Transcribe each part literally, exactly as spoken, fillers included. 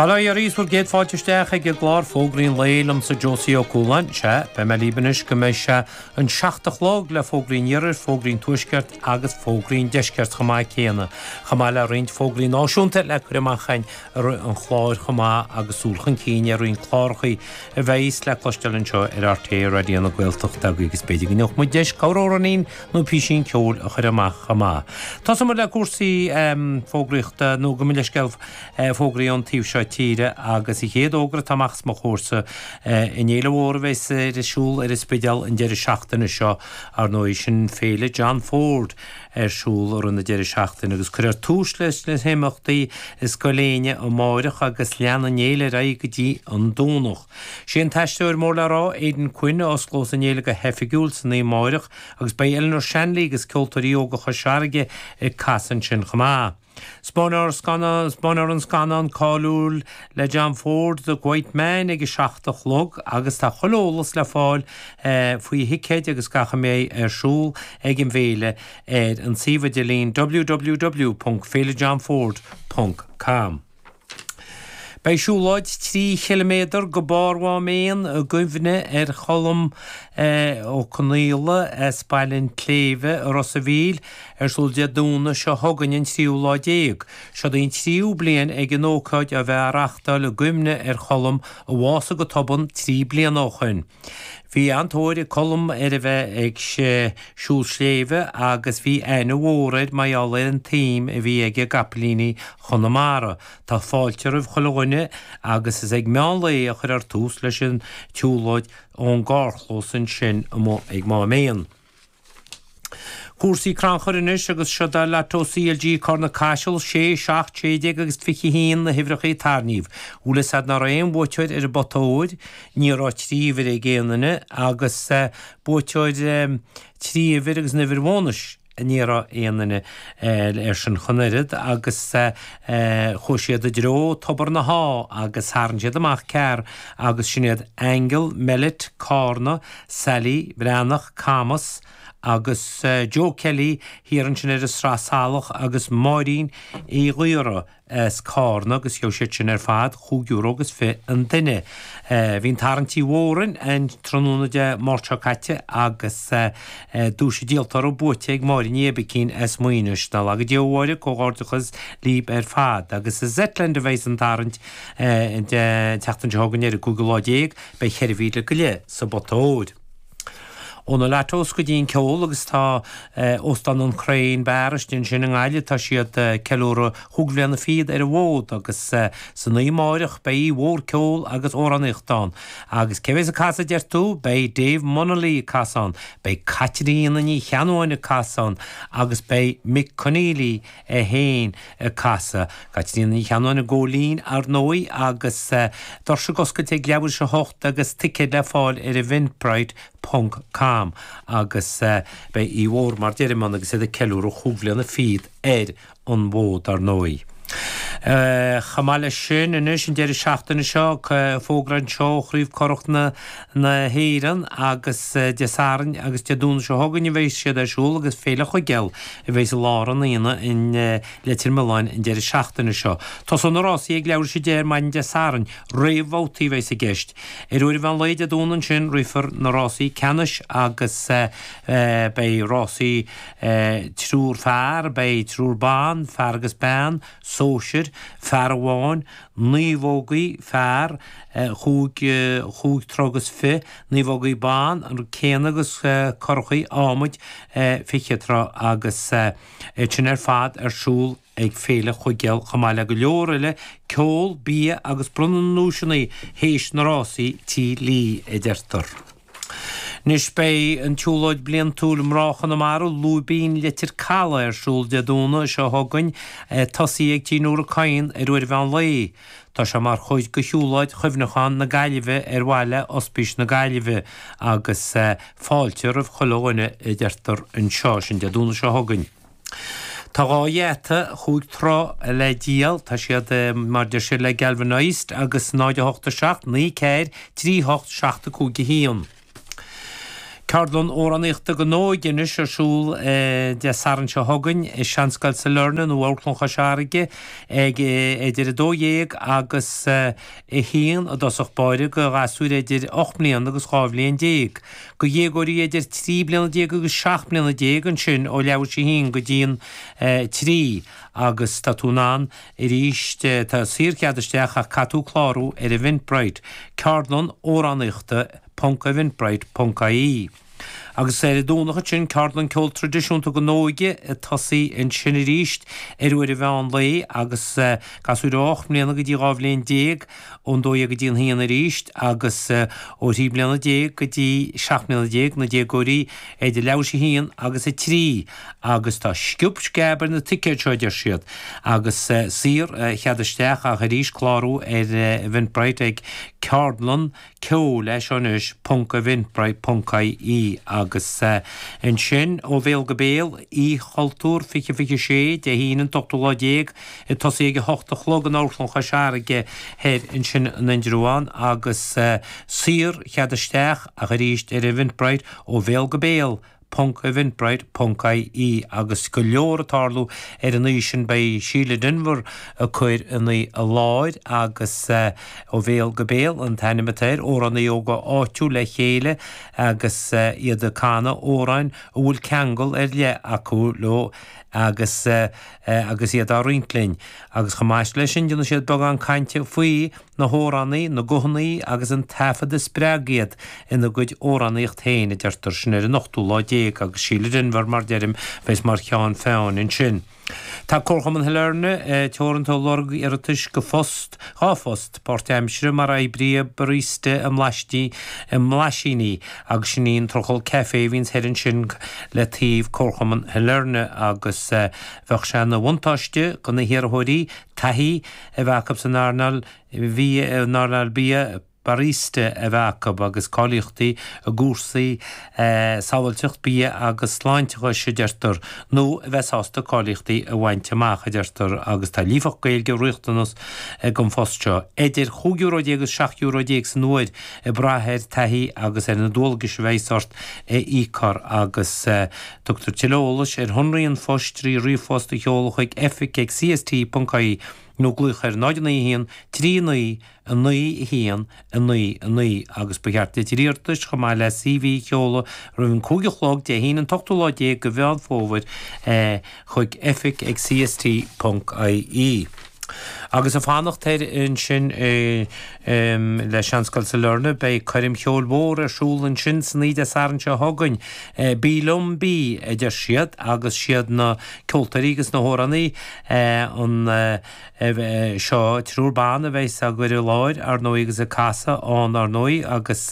Bail ó Dhia oraibh is bhur gcéad fáilte isteach ag an gclár Fógraí an Lae liomsa Josie Ó Cualáin. Sea, beidh mé libh anois go mbeidh sé an seacht a chlog le Fógraí an Iarthair, Fógraí an Tuaiscirt agus Fógraí an Deiscirt chomh maith céanna, chomh maith le roinnt fógraí náisiúnta le cur amach againn i rith an chláir chomh maith agus súil chun cinn ar roinnt clárachaí a bheidhs le cloisteáil anseo ar RTÉ Raidió na Gaeltachta agus b'fhéidir go ngeobhaidh muid deis corr-amhráinín nó písín ceoil a chur amach chomh maith. Tosóidh muid le cúrsaí fógraíochta nó gabh mo leithscéal fógraí ón taobh seo tíre agus an chéad fhógra atá amach os mo chomhairsa an fhéile mhór a bheas ar siúl ar an Spidéal an deireadh seachtaine seo, ar ndóigh, sin Féile John Ford ar siúl i rith na deireadh seachtaine agus cuirfear tús leis na himeachtaí i Scoil Éinne amáireach agus leanfaidh an fhéile ar aghaidh go dtí an Domhnach. Sé an t-aisteoir mór le rá Aidan Quinn a osclós an fhéile go hoifigiúil san oíche amáireach agus beidh Eleanor Shanley agus Ceoltóirí Óga Chois Fharraige ag casadh ansin chomh maith. Spáinfear an scannán cáiliúil le John Ford, The Quiet Man, ag a seacht a chlog agus tá chuile eolas le fáil faoi thicéid agus gach a mbeidh ar siúl ag an bhféile ar an suíomh idirlín www ponc féilejohnford ponc com. Beidh siúlóid trí chiliméadar go barr Mhám Éan i gcuimhne ar Cholm Ó Conaola as Baile an tSléibhe i Ros a' Mhíl ar siúl Dé Domhnaigh seo chugainn an tríú lá déag. Seod í an tríú bliain ag an ócáid a bheith á reachtáil i gcuimhne ar Cholm a bhásaigh go tobann trí bliana ó shoin. Bhí an-tóir ag Colm ar a bheith ag siúl sléibhe agus bhí aithne mhór air mar gheall ar an tsuim a bhí aige i gcapaillíní Chonamara. Tá fáilte roimh chuile dhuine agus is ag meán lae a chuirfear tús leis an tsiúlóid ón gcarrchlós ansin amuigh ag Mám Éan. Cúrsaí crannchuir anois agus seod é Lotto CLG Carna Caiseal, sé, seacht, sé déag agus fiche a haon na huimhreacha a tarraingíodh. Bhfuil fhios a'd ná raibh aon bhuaiteoir ar an bpota óir, ní raibh trí uimhir ag aon duine agus buaiteoir trí uimhir agus an uimhir bhónais. Ní raibh aon duine air sin ach an oiread agus chuaigh siad i dtreo Tobar na hÁ agus tharraing siad amach ceathrar agus sin iad Aingeal Mellett, Cárna, Sally Bhreathnach, Camas, agus Joe Kelly thiar ansin ar an Sraith Salach agus Máirín Uí Ghaora as Cárna agus gheobhaidh siad sin ar fad chúig euro agus fiche an duine. Bhí an tarraingt i bhFórainn an tráthnóna Dé Máirt seo caite agus duais an díoltóra buaite ag Máire Ní Oibicín as Muínis. Nach laga Dia a Mháire, comhghairdeachas libh ar fad. Agus i Zetland a bheidh an tarraingt an tseachtain seo chugainn ar an gcúigiú lá déag, beidh ceithre mhíle go leith sa bpota óir. Ó na Lottos go dtí an ceol agus tá Óstán an Crane Bar istigh ansin i nGaillimh, tá siad ag ceiliúradh chúig bhliana fichead ar an bhfód agus san oíche amáireach beidh oíche mhór ceoil agus amhránaíochta ann. Agus cé bheas ag casadh a deir tú? Beidh Dave Munnelly ag casadh ann, beidh Caitríona Ní Cheannabháin ag casadh ann agus beidh Mick Conneely é féin ag casadh. Caitríona Ní Cheannabháin i gCóilín ar ndóigh agus doirse ag oscailt ag leathuair tar éis a hocht agus ticéid le fáil ar Eventbrite ponc com agus beidh oíche mhór mar deirim ann agus iad ag ceiliúradh chúig bhliana fichead ar an bhfód ar ndóigh. Chomh maith leis sin anois an deireadh seachtaine seo fógra anseo ó Chraobh Curach na na hÉireann agus Dé Sathairn agus Dé Domhnaigh seo chugainn a bheidh siad ar siúl agus Féile Chuigéal a bheidh i lár an aonaigh in Leitir Mealláin an deireadh seachtaine seo. Tosóidh na rásaí ag leathuair tar éis a deich ar maidin Dé Sathairn, réamhbhabhtaí a bheidh i gceist. Ar uair an mheán lae Dé Domhnaigh ansin rithfear na rásaí ceannais agus beidh rásaí triúr fear, beidh triúr ban, fear agus bean, sóisir, fear amháin, naomhógaí, fear, chúig, chúig troigh agus fiche, naomhógaí ban, an rud céanna agus curachaí adhmaid fiche troigh agus iad sin ar fad ar siúl ag Féile Chuigéal chomh maith le go leor eile, ceol, bia agus bronnadh na nduaiseanna théis na rásaí Tí Lee a deirtear. Anois beidh an tsiúlóid bliantúil Mná Chonamara, Lúibín Leitir Calaidh ar siúl Dé Domhnaigh seo chugainn, tosaithe ag Tigh Nóra Kyne ar uair an mheán lae. Tá sé mar chuid de shiúlóid chuimhneacháin na Gaillimhe ar mhaithe le Ospís na Gaillimhe agus fáilte roimh chuile dhuine a deirtear anseo, sin Dé Domhnaigh seo chugainn. Tá dhá gheata chúig troigh le díol, tá siad mar deir siad le Galvanised agus náid a hocht a seacht, naoi ceathair, trí hocht, seacht a cúig a haon. Ceardlann amhránaíochta don óige anois ar siúl Dé Sathairn seo chugainn i Seanscoil Sailearna nó Amharclann Chois Fharraige ag idir a dó dhéag agus a haon i dtosach báire do ghasúir idir ocht mbliana agus dhá bhliain déag. Do dhéagóirí idir trí bliana déag agus seacht mbliana déag ansin ó leathuair tar éis a haon go dtí an trí agus tá tú in ann arís tá saorchead isteach ach caithfidh tú clárú ar Eventbrite. Ceardlann amhránaíochta ponc eventbrite ponc ie. Agus ar an Domhnach ansin ceardlann ceol traidisiúnta don óige ag tosaí ansin arís ar uair an mheán lae agus gasúir ó ocht mbliana go dtí dhá bhliain déag ón dó dhéag go dtí an haon arís agus ó thrí bliana déag go dtí seacht mbliana déag na déagóirí idir leathuair tar éis a haon agus a trí agus tá sciob sceab ar na ticéid seo a deir siad agus saor chead isteach ach arís clárú ar Eventbrite ag ceardlann ceoil é seo anois ponc eventbrite ponc ie agus ansin ó bhéal go béal Oíche Chultúir fiche fiche sé Dé hAoine an t-ochtú lá déag ag tosaí ag a hocht a chlog in Amharclann Chois Fharraige thoir ansin in Indreabhán agus saor chead isteach ach arís ar Eventbrite ó bhéal go béal ponc eventbrite ponc ie agus go leor ag tarlú ar an oíche sin beidh Síle Denvir ag cur an oíche i láthair agus ó bhéal go béal an t-ainm atá air, amhránaithe óga áitiúil le chéile agus iad ag canadh amhráin a bhfuil ceangal ar leith acu leo agus agus iad á roinnt linn. Agus chomh maith leis sin déanfaidh siad beagán cainte faoi na hamhránaí, na guthanna agus an taifead a spreag iad ina gcuid amhránaíocht féin, a deirtear, sin ar an ochtú lá déag agus Síle Denvir, mar deirim, bheas mar cheann feadhain ansin. Tá Comharchumann Shailearna Teoranta ag lorg iarratais go phost, dhá phost, páirtaimseartha mar oibrí barista i mblaistí, i mBlaisíní agus sin í an Trucail Café a bhíonns thoir ansin le taobh Comharchumann Shailearna agus bheadh sé ina bhuntáiste do na hiarrthóirí taithí a bheith acu san earnáil bhia, in earnáil bia barista a bheith acu agus cáilíochtaí i gcúrsaí sábháilteacht bia agus sláinteachais, a deirtear, nó a bheith sásta cáilíochtaí a bhaint amach, a deirtear, agus tá líofacht Gaeilge riachtanas don phost seo. Idir chúig euro déag agus seacht euro déag san uair, ag brath ar taithí agus ar na dualgais a bheas ort a íocfar agus tugtar tuilleadh eolais ar shonraí an phoist trí ríomhphost a sheoladh chuig oifig ag cst ponc ie nó glaoch ar náid naoi a haon trí naoi a naoi a haon a naoi a naoi agus ba cheart litir iarratais chomh maith le C V a sheoladh roimh an cúig a chlog Dé hAoine an t-ochtú lá déag de Mheán Fómhair chuig oifig ag cst ponc ie. Agus ag fanacht thoir ansin le Seanscoil Sailearna beidh coirm cheoil mhór ar siúl ansin san oíche Dé Sathairn seo chugainn. Bí liom bí, a deir siad, agus siad na ceoltóirí agus na hamhránaí an seo triúr ban a bheas á gcur i láthair, ar ndóigh, agus ag casadh ann, ar ndóigh, agus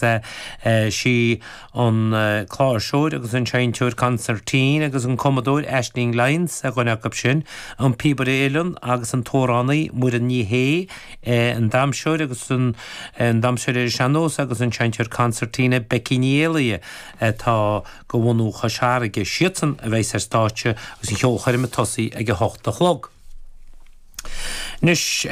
sí an cláirseoir agus an seinnteoir consairtín agus an cumadóir Aisling Lyons ar dhuine acu sin, an píobaire uilleann agus an t-amhránaí Muireann Ní Shé, an damhsóir agus an damhsóir ar an sean-nós agus an seinnteoir consairtín Becky Ní Éalaithe atá de bhunú Chois Fharraige. Siadsan a bheas ar stáitse agus an cheolchoirm ag tosaí ag a hocht a chlog. Anois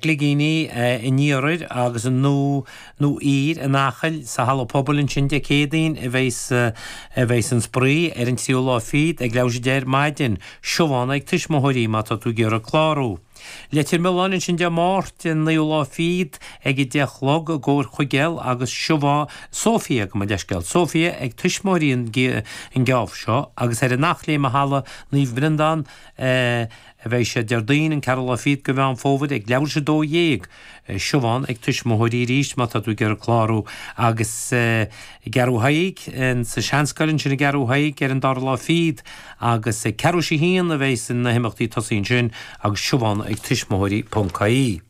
Gligíní in iarthair agus an nó nó oir in Acaill sa halla pobail ansin Dé Céadaoin a bheas a bheas an spraoi ar an tríú lá fichead ag leathuair tar éis a deich ar maidin. Siobhán ag tuismitheoirí má tá tú ag iarraidh clárú. Leitir Mealláin ansin Dé Máirt an naoú lá fichead ag a deich a chlog i gcomhair Chuigéal agus Siobhán Sophia gabh mo leithscéal Sophia ag tuismitheoirí an an geábh seo agus ar an Eachléim i halla Naomh Breandán a bheidh sé Déardaoin an ceathrú lá fichead de Mheán Fómhair ag leathuair tar éis a dó dhéag. Siobhán ag tuismitheoirí arís má tá tú ag iarraidh clárú agus i gCeathrú Thaidhg sa Seanscoil ansin i gCeathrú Thaidhg ar an dara lá fichead agus ag ceathrú tar éis a haon a bheidh na himeachtaí tosaí ansin agus Siobhán ag tuismitheoirí ponc ie.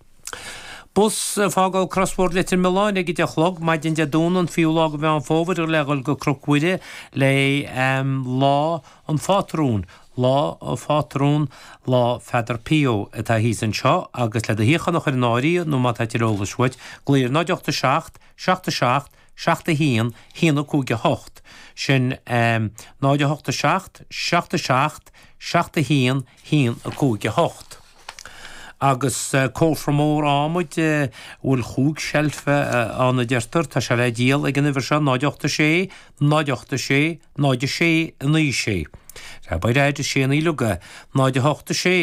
Bus ag fágáil Crosbhóthar Leitir Mealláin ag a deich a chlog maidin Dé Domhnaigh an fichiú lá de Mheán Fómhair le dhul go Cnoc Mhuire le Lá an Phátrúin, Lá an Phátrúin, Lá Pheadar Pio atá thíos anseo agus le do shuíochán a chur in áirithe nó má tá tuilleadh eolais uait, glaoigh ar náid ocht a seacht, seacht a seacht, seacht a haon, haon a cúig a hocht. Sin náid a hocht a seacht, seacht a seacht, seacht a haon, haon a cúig a hocht. Agus cófra mór adhmaid a bhfuil chúig seilf ann a deirtear, tá sé le díol ag an uimhir seo, náid ocht a sé, náid ocht a sé, náid a sé, naoi sé. Sea, beidh a fhad is sé naoi leoga, náid a hocht a sé.